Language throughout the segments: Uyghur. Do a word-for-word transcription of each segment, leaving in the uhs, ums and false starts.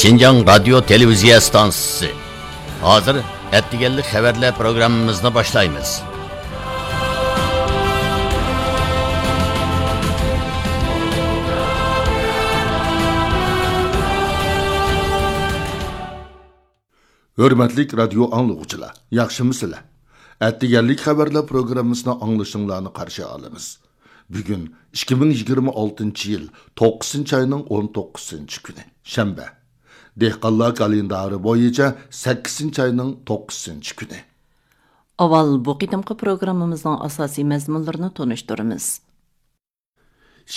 شىنجاڭ رادىيو تېلېۋىزىيە ئىستانسىسى. ھازىر ئەتىگەنلىك خەۋەرلەر پروگراممىمىزنى باشلايمىز. ھۆرمەتلىك رادىيو ئاڭلىغۇچىلار، ياخشىمۇسىلەر؟ ئەتىگەنلىك خەۋەرلەر پروگراممىسىنى ئاڭلىشىڭلارنى قارشى ئالىمىز. بۈگۈن ئىككى مىڭ يىگىرمە ئالتىنچى يىل توققۇزىنچى ئاينىڭ ئون توققۇزىنچى كۈنى، شەنبە. دېھقانلار كالېندارى بويىچە سەككىزىنچى ئاينىڭ توققۇزىنچى كۈنى. ئاۋۋال بۇ قېتىمقى پروگراممىمىزنىڭ ئاساسىي مەزمۇنلىرىنى تونۇشتۇرىمىز.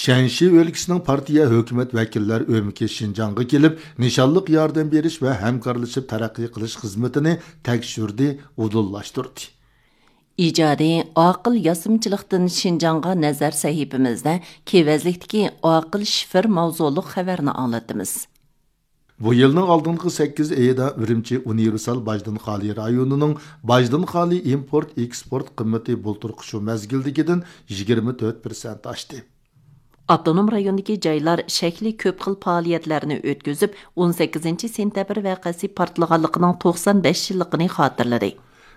شەنشى ئۆلكىسىنىڭ پارتىيە ھۆكۈمەت ۋەكىللەر ئۆمىكى شىنجاڭغا كېلىپ، نىشانلىق ياردەم بېرىش ۋە ھەمكارلىشىپ تەرەققىي قىلىش خىزمىتىنى تەكشۈردى، ئۇدۇللاشتۇردى. ئىجادىي ئاقىل ياسىمىچىلىقتىن شىنجاڭغا نەزەر سەھىپىمىزدە كېۋەزلىكتىكى ئاقىل شىفېر ماۋزۇلۇق خەۋەرنى ئاڭلىتىمىز. بۇ يىلنىڭ ئالدىنقى سەككىز ئېيىدا ئۈرۈمچى ئۇنىۋېرسال باجدىن خالىي رايونىنىڭ باجدىن خالىي ئىمپورت ئېكسپورت قىممىتى بۇلتۇرقى شۇ مەزگىلدىكىدىن يىگىرمە تۆت پىرسەنت ئاشتى. ئاپتونوم رايوندىكى جايلار شەكلى كۆپ خىل پائالىيەتلەرنى ئۆتكۈزۈپ، ئون سەككىزىنچى سېنتەبىر ۋەقەسى پارتلىغانلىقىنىڭ توقسان بەش يىللىقىنى خاتىرىلىدى.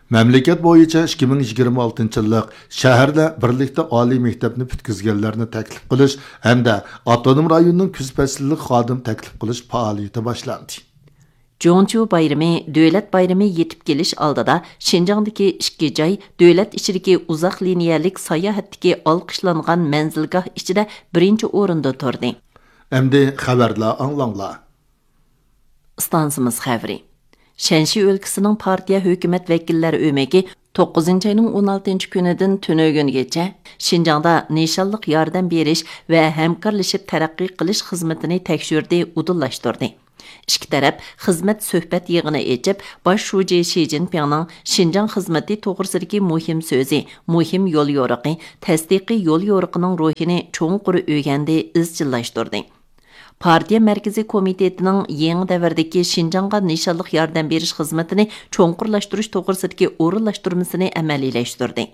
مەملىكەت بويىچە ئىككى مىڭ يىگىرمە ئالتىنچى يىللىق شەھەردە بىرلىكتە ئالىي مەكتەپنى پۈتكۈزگەنلەرنى تەكلىپ قىلىش ھەمدە ئاپتونوم رايوننىڭ كۈز پەسلىلىك خادىم تەكلىپ قىلىش پائالىيىتى باشلاندى. جۇڭچيۇ بايرىمى، دۆلەت بايرىمى يېتىپ كېلىش ئالدىدا شىنجاڭدىكى ئىككى جاي دۆلەت ئىچىدىكى ئۇزاق لىنىيەلىك ساياھەتتىكى ئالقىشلانغان مەنزىلگاھ ئىچىدە بىرىنچى ئورۇندا تۇردى. ئەمدى خەۋەرلەر ئاڭلاڭلار. ئىستانسىمىز خەۋىرى. شەنشى ئۆلكىسىنىڭ پارتىيە ھۆكۈمەت ۋەكىللەر ئۆمىكى توققۇزىنچى ئاينىڭ ئون ئالتىنچى كۈنىدىن تۈنۈگۈنگىچە شىنجاڭدا نىشانلىق ياردەم بېرىش ۋە ھەمكارلىشىپ تەرەققىي قىلىش خىزمىتىنى تەكشۈردى، ئۇدۇللاشتۇردى. ئىككى تەرەپ خىزمەت سۆھبەت يىغىنى ئېچىپ، باش شۇجى شى جىنپىڭنىڭ شىنجاڭ خىزمىتى توغرىسىدىكى مۇھىم سۆزى، مۇھىم يوليورۇقى، تەستىقىي يوليورۇقىنىڭ روھىنى چوڭقۇر ئۆگەندى، ئىزچىللاشتۇردى. پارتىيە مەركىزىي كومىتېتىنىڭ يېڭى دەۋردىكى شىنجاڭغا نىشانلىق ياردەم بېرىش خىزمىتىنى چوڭقۇرلاشتۇرۇش توغرىسىدىكى ئورۇنلاشتۇرمىسىنى ئەمەلىيلەشتۈردى.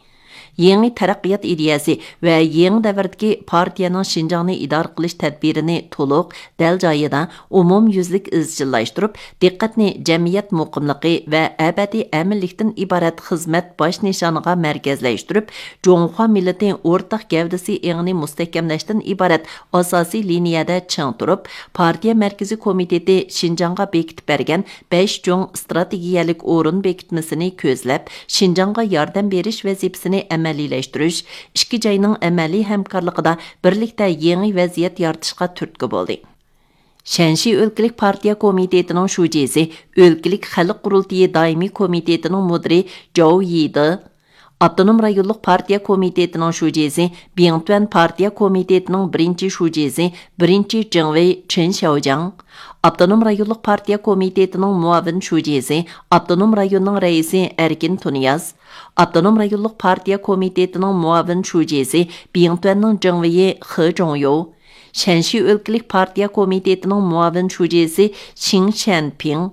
يېڭى تەرەققىيات ئىدىيەسى ۋە يېڭى دەۋردىكى پارتىيەنىڭ شىنجاڭنى ئىدارە قىلىش تەدبىرىنى تولۇق، دەل جايىدا، ئومۇميۈزلۈك ئىزچىللاشتۇرۇپ، دىققەتنى جەمئىيەت مۇقىملىقى ۋە ئەبەدىي ئەمىنلىكتىن ئىبارەت خىزمەت باش نىشانىغا مەركەزلەشتۈرۈپ، جۇڭخۇا مىللىتى ئورتاق گەۋدىسى ئېڭىنى مۇستەھكەملەشتىن ئىبارەت ئاساسىي لىنىيەدە چىڭ تۇرۇپ، پارتىيە مەركىزىي كومىتېتى شىنجاڭغا بېكىتىپ بەرگەن بەش چوڭ ئىستراتېگىيەلىك ئورۇن بېكىتمىسىنى كۆزلەپ، شىنجاڭغا ياردەم بېرىش ۋەزىپىسىنى ئەمەلىيلەشتۈرۈش، ئىككى جاينىڭ ئەمەلىي ھەمكارلىقىدا بىرلىكتە يېڭى ۋەزىيەت يارىتىشقا تۈرتكە بولدى. شەنشى ئۆلكىلىك پارتىيە كومىتېتىنىڭ شۇجىسى، ئۆلكىلىك خەلق قۇرۇلتىيى دائىمىي كومىتېتىنىڭ مۇدىرى جاۋ يىدې، ئاپتونوم رايونلۇق پارتىيە كومىتېتىنىڭ شۇجىسى، بىڭتۈەن پارتىيە كومىتېتىنىڭ بىرىنچى شۇجىسى، بىرىنچى جېڭۋېي چېن شياۋجياڭ، ئاپتونوم رايونلۇق پارتىيە كومىتېتىنىڭ مۇئاۋىن شۇجىسى، ئاپتونوم رايوننىڭ رەئىسى ئەركىن تۇنىياز، ئاپتونوم رايونلۇق پارتىيە كومىتېتىنىڭ مۇئاۋىن شۇجىسى، بىڭتۈەننىڭ جېڭۋېيى خې جۇڭيو، شەنشى ئۆلكىلىك پارتىيە كومىتېتىنىڭ مۇئاۋىن شۇجىسى شېڭ شيەنپىڭ،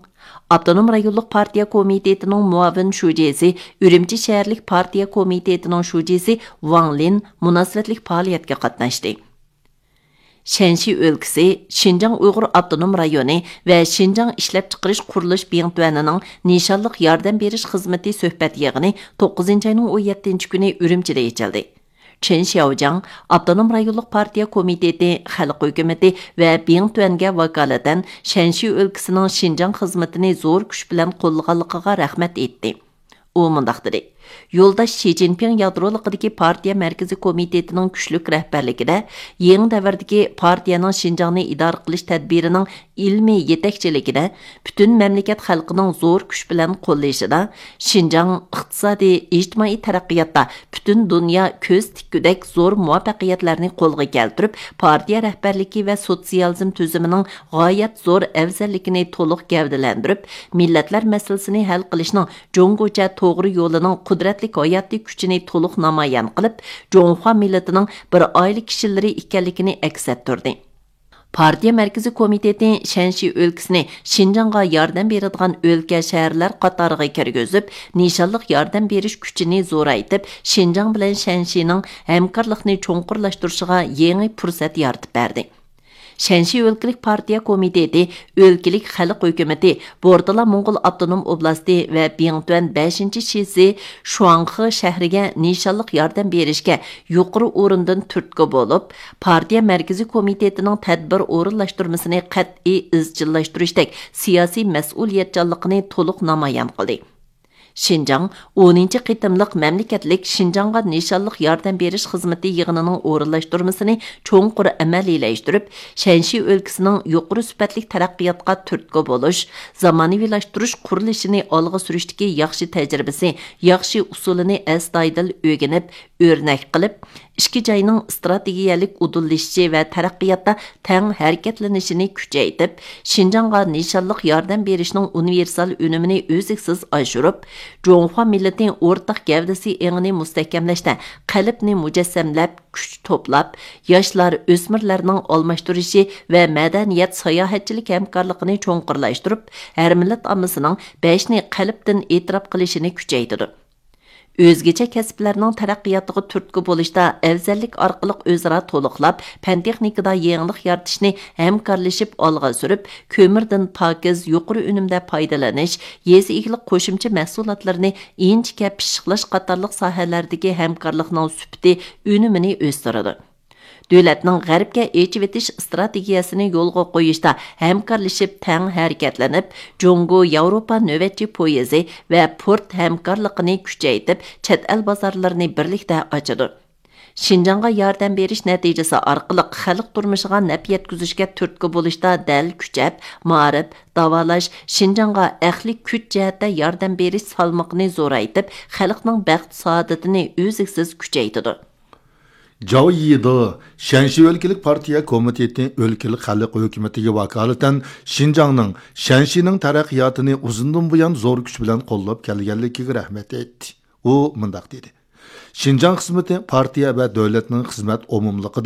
ئاپتونوم رايونلۇق پارتىيە كومىتېتىنىڭ مۇئاۋىن شۇجىسى، ئۈرۈمچى شەھەرلىك پارتىيە كومىتېتىنىڭ شۇجىسى ۋاڭ لىن مۇناسىۋەتلىك پائالىيەتكە قاتناشتى. شەنشى ئۆلكىسى، شىنجاڭ ئۇيغۇر ئاپتونوم رايونى ۋە شىنجاڭ ئىشلەپچىقىرىش قۇرۇلۇش بىڭتۈەنىنىڭ نىشانلىق ياردەم بېرىش خىزمىتى سۆھبەت يىغىنى توققۇزىنچى ئاينىڭ ئون يەتتىنچى كۈنى ئۈرۈمچىدە ئېچىلدى. چېن شياۋجياڭ ئاپتونوم رايونلۇق پارتىيە كومىتېتى، خەلق ھۆكۈمىتى ۋە بىڭتۈەنگە ۋاكالىتەن شەنشى ئۆلكىسىنىڭ شىنجاڭ خىزمىتىنى زور كۈچ بىلەن قوللىغانلىقىغا رەھمەت ئېيتتى. ئۇ مۇنداق دېدى، يولداش شى جىنپىڭ يادرولۇقىدىكى پارتىيە مەركىزىي كومىتېتىنىڭ كۈچلۈك رەھبەرلىكىدە، يېڭى دەۋردىكى پارتىيەنىڭ شىنجاڭنى ئىدارە قىلىش تەدبىرىنىڭ ئىلمىي يېتەكچىلىكىدە، پۈتۈن مەملىكەت خەلقىنىڭ زور كۈچ بىلەن قوللىشىدا، شىنجاڭ ئىقتىسادىي، ئىجتىمائىي تەرەققىياتتا پۈتۈن دۇنيا كۆز تىككۈدەك زور مۇۋەپپەقىيەتلەرنى قولغا كەلتۈرۈپ، پارتىيە رەھبەرلىكى ۋە سوتسىيالىزم تۈزۈمىنىڭ غايەت زور ئەۋزەللىكىنى تولۇق گەۋدىلەندۈرۈپ، مىللەتلەر مەسىلىسىنى ھەل قىلىشنىڭ جۇڭگوچە توغرا يولىنىڭ قۇدرەتلىك ھاياتىي كۈچىنى تولۇق نامايان قىلىپ، جۇڭخۇا مىللىتىنىڭ بىر ئائىلە كىشىلىرى ئىكەنلىكىنى ئەكس ئەتتۈردى. پارتىيە مەركىزىي كومىتېتى شەنشى ئۆلكىسىنى شىنجاڭغا ياردەم بېرىدىغان ئۆلكە، شەھەرلەر قاتارىغا كىرگۈزۈپ، نىشانلىق ياردەم بېرىش كۈچىنى زورايتىپ، شىنجاڭ بىلەن شەنشىنىڭ ھەمكارلىقنى چوڭقۇرلاشتۇرۇشىغا يېڭى پۇرسەت يارىتىپ بەردى. شەنشى ئۆلكىلىك پارتىيە كومىتېتى، ئۆلكىلىك خەلق ھۆكۈمىتى، بورتالا موڭغۇل ئاپتونوم ئوبلاستى ۋە بىڭتۈەن بەشىنچى شىزى شۇاڭخې شەھىرىگە نىشانلىق ياردەم بېرىشكە يۇقىرى ئورۇندىن تۈرتكە بولۇپ، پارتىيە مەركىزىي كومىتېتىنىڭ تەدبىر ئورۇنلاشتۇرمىسىنى قەتئىي ئىزچىللاشتۇرۇشتەك سىياسىي مەسئۇلىيەتچانلىقىنى تولۇق نامايان قىلدى. شىنجاڭ ئونىنچى قېتىملىق مەملىكەتلىك شىنجاڭغا نىشانلىق ياردەم بېرىش خىزمىتى يىغىنىنىڭ ئورۇنلاشتۇرمىسىنى چوڭقۇر ئەمەلىيلەشتۈرۈپ، شەنشى ئۆلكىسىنىڭ يۇقىرى سۈپەتلىك تەرەققىياتقا تۈرتكە بولۇش، زامانىۋىلاشتۇرۇش قۇرۇلۇشىنى ئالغا سۈرۈشتىكى ياخشى تەجرىبىسى، ياخشى ئۇسۇلىنى ئەستايىدىل ئۆگىنىپ، ئۆرنەك قىلىپ، ئىككى جاينىڭ ئىستراتېگىيەلىك ئۇدۇللىشىشى ۋە تەرەققىياتتا تەڭ ھەرىكەتلىنىشىنى كۈچەيتىپ، شىنجاڭغا نىشانلىق ياردەم بېرىشنىڭ ئۇنىۋېرسال ئۈنۈمىنى ئۈزلۈكسىز ئاشۇرۇپ، جۇڭخۇا مىللىتى ئورتاق گەۋدىسى ئېڭىنى مۇستەھكەملەشتە قەلبنى مۇجەسسەملەپ، كۈچ توپلاپ، ياشلار، ئۆسمۈرلەرنىڭ ئالماشتۇرۇشى ۋە مەدەنىيەت، ساياھەتچىلىك ھەمكارلىقىنى چوڭقۇرلاشتۇرۇپ، ھەر مىللەت ئاممىسىنىڭ بەشنى قەلبتىن ئېتىراپ قىلىشىنى كۈچەيتىدۇ. ئۆزگىچە كەسىپلەرنىڭ تەرەققىياتىغا تۈرتكە بولۇشتا ئەۋزەللىك ئارقىلىق ئۆزئارا تولۇقلاپ، پەن تېخنىكىدا يېڭىلىق يارىتىشنى ھەمكارلىشىپ ئالغا سۈرۈپ، كۆمۈردىن پاكىز، يۇقىرى ئۈنۈمدە پايدىلىنىش، يېزا ئىگىلىك قوشۇمچە مەھسۇلاتلىرىنى ئىنچىكە پىششىقلاش قاتارلىق ساھەلەردىكى ھەمكارلىقنىڭ سۈپىتى، ئۈنۈمىنى ئۆستۈرىدۇ. دۆلەتنىڭ غەربكە ئېچىۋېتىش ئىستراتېگىيەسىنى يولغا قويۇشتا ھەمكارلىشىپ تەڭ ھەرىكەتلىنىپ، جۇڭگو ياۋروپا نۆۋەتچى پويىزى ۋە پورت ھەمكارلىقىنى كۈچەيتىپ، چەت ئەل بازارلىرىنى بىرلىكتە ئاچىدۇ. شىنجاڭغا ياردەم بېرىش نەتىجىسى ئارقىلىق خەلق تۇرمۇشىغا نەپ يەتكۈزۈشكە تۈرتكە بولۇشتا دەل كۈچەپ، مائارىپ، داۋالاش، شىنجاڭغا ئەقلىي كۈچ جەھەتتە ياردەم بېرىش سالمىقىنى زورايتىپ، خەلقنىڭ بەخت-سائادىتىنى ئۈزلۈكسىز كۈچەيتىدۇ. جاۋ يىدې، شەنشى ئۆلكىلىك پارتىيە كومىتېتى ئۆلكىلىك خەلق ھۆكۈمىتىگە ۋاكالىتەن شىنجاڭنىڭ، شەنشىنىڭ تەرەققىياتىنى ئۇزۇندىن بۇيان زور كۈچ بىلەن قوللاپ كەلگەنلىكىگە رەھمەت ئېيتتى. ئۇ مۇنداق دېدى: شىنجاڭ خىزمىتى پارتىيە ۋە دۆلەتنىڭ خىزمەت ئومۇملۇقىدا